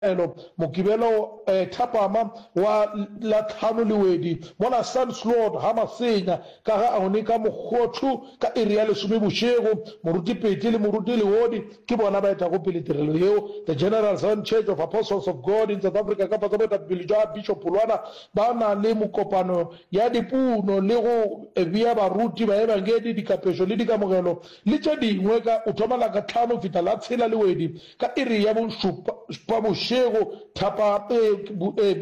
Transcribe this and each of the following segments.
Elo, Mokibelo thapama wa la tlhano Lewedi, mola Sandslot ga Masenya ka ga Aone ka Mokgothu ka iri ya lesome bošego. Moruti Pete le Moruti Leodi ke bona ba etago pele tirelo yeo. The General Zion Church of Apostles of God in South Africa ka fase boetapele jwa Bishop Pholwana ba na le mokopano ya dipuno le go bea baruti, baebangedi, dikapešo le dikamogelo le tše dingwe ka o thoma la ka tlhano fihla la tshela Lewedi Ka iri ya bošupa bošego, thapa, ee, ee,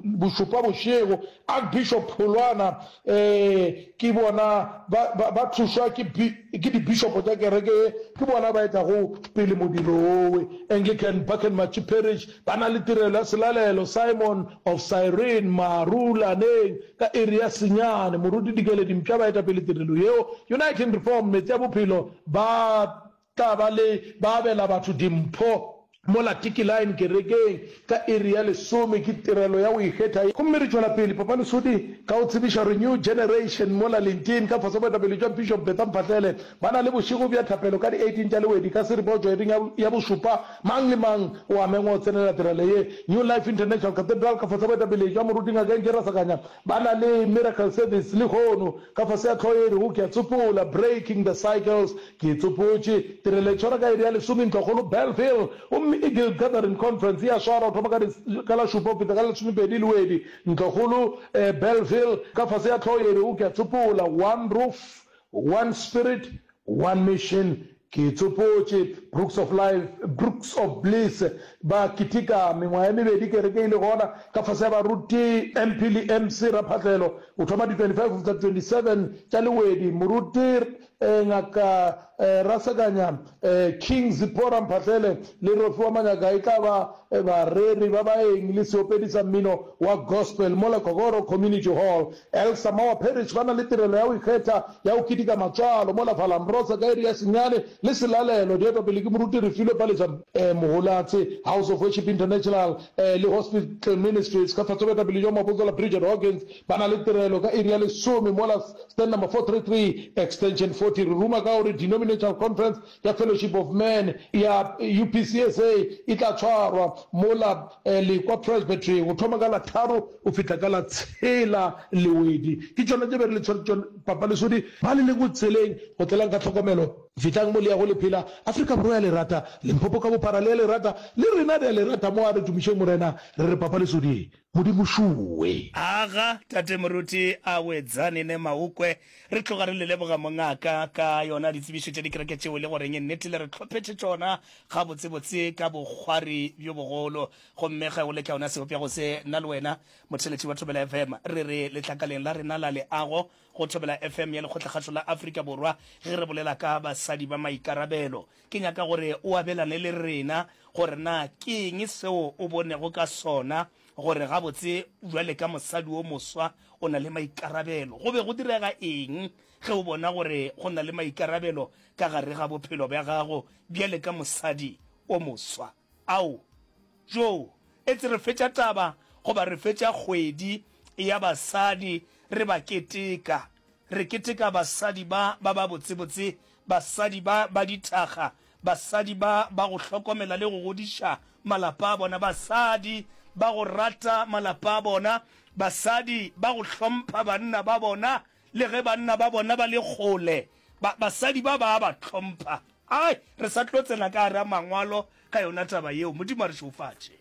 bošupa bošego, Archbishop Pholwana, ee, ke bona ba, ba, ba thušwa ke, ke dibishopo tša kereke ye, ke bona ba etago pele modiro wowe. Anglican Buckenmachi Parish ba na le tirelo ya selalelo, Simon of Cyrene, Marulaneng, ka iri ya senyane. Moruti Dikeledi Mpša ba eta pele tirelo yeo. Uniting Reformed, Meetse a Bophelo, ba Tla ba le ba abela batho dimpho mola Tiki Line kerekeng ka iri ya lesome. Ke tirelo ya go ikgetha ye. Gomme re tšwela pele, Papa Lesodi, ka go tsebiša gore New Generation mola Lintin ka fase boetapele jwa Bishop Betha Mphahlele ba na le bošego bja thapelo ka di 18 tša Lewedi ka seripa go tšwa iring ya, ya bošupa. Mang le mang o a mengwa go tsenela tirelo ye. New Life International Cathedral ka fase boetapele jwa Moruti Ngaka NK Rasakanya ba na le Miracle Service lehono ka fase ya hlogo ye e rego Ke a Tsopola, Breaking the Cycles. Ke tsopotše tirelo e tshwara ka iri ya lesome ntlokgolo Bellville, gomme Eagle Gathering Conference e a swarwa go thoma ka di, ka la šupa go fihla ka la lesomepedi Lewedi ntlokgolo Bellville, ka fase ya hlogo ye e rego Ke a Tsopola, One Roof, One Spirit, One Mission. Ke tsopotše Brooks of Life, Brooks of Bliss, ba keteka mengwaga e mebedi kereke e le gona, ka fase ya baruti MP le MC Raphahlelo, go thoma di 25 go fihla 27 tša Lewedi, Moruti Ngaka Rasekanya, King Zipporah Mphahlele le Rofhiwa Manyaka e tla ba bareri ba baeng le seopedi sa mmino wa gospel mola Kokoro Community Hall. Elsa Mawa Parish ba na le tirelo ya go ikgetha ya go keteka matswalo mola Valambrosa ka iri ya senyane le selalelo di etwa pele ke Moruti Refilwe Palesa Moholatse, House of Worship International le Hospital Ministries ka tlase boetapele jwa Moapostola Bridget Hawkins ba na le tirelo ka iri ya lesome mola Stand number 433, Extension 40, re ruma ka gore Denominational Conference ya Fellowship of Men ya UPCSA e tla tshwarwa mola Lekwa Presbytery go thoma ka la tharo go fihla ka la tshela Lewedi. Ke tšona tše be re le tshwere tšona, Papa Lesodi, ba le lego tseleng go tlelang ka tlhokomelo. Fihlang mo le yago le phela. Afrika Borwa ya le rata, Limpopo ka bophara le ya le rata, le rena re a le rata mo a re tumišeng Morena, re re Papa Lesodi. Modimo šuwe. Aga, Tate Moruti a Wedzani ne Maukwe, re tloga re le leboga mongaka ka yona ditsebišo tša dikereke tšeo e le goreng nnete le re hlophetše tšona gabotsebotse ka bokgwari bjo bogolo. Gomme ge o le ka yona sebopego se, nna le wena motheeletši wa Thobela FM re re letlakaleng la rena la leago go Thobela FM ya Lekgotlakgašo la Afrika Borwa ge re bolela ka basadi ba maikarabelo. Ke nyaka gore o abelane le rena gore na ke eng seo o bonego ka sona gore gabotse bjale ka mosadi o moswa o na le maikarabelo. Go be go direga eng ge o bona gore go na le maikarabelo ka gare ga bophelo bja gago bjale ka mosadi o moswa? Ao, joo, etse re fetša taba goba re fetša kgwedi ya basadi re ba keteka. Re keteka basadi ba ba babotsebotse, basadi ba ba dithakga, basadi ba ba go hlokomela le go godiša malapa a bona, basadi ba go rata malapa a bona, basadi ba go hlompha banna ba bona le ge banna ba bona ba le kgole. Ba, basadi ba ba a ba hlompha. Ai, re sa tlo tsena ka gare ga Mangwalo ka yona taba yeo. Modimo a re šegofatše.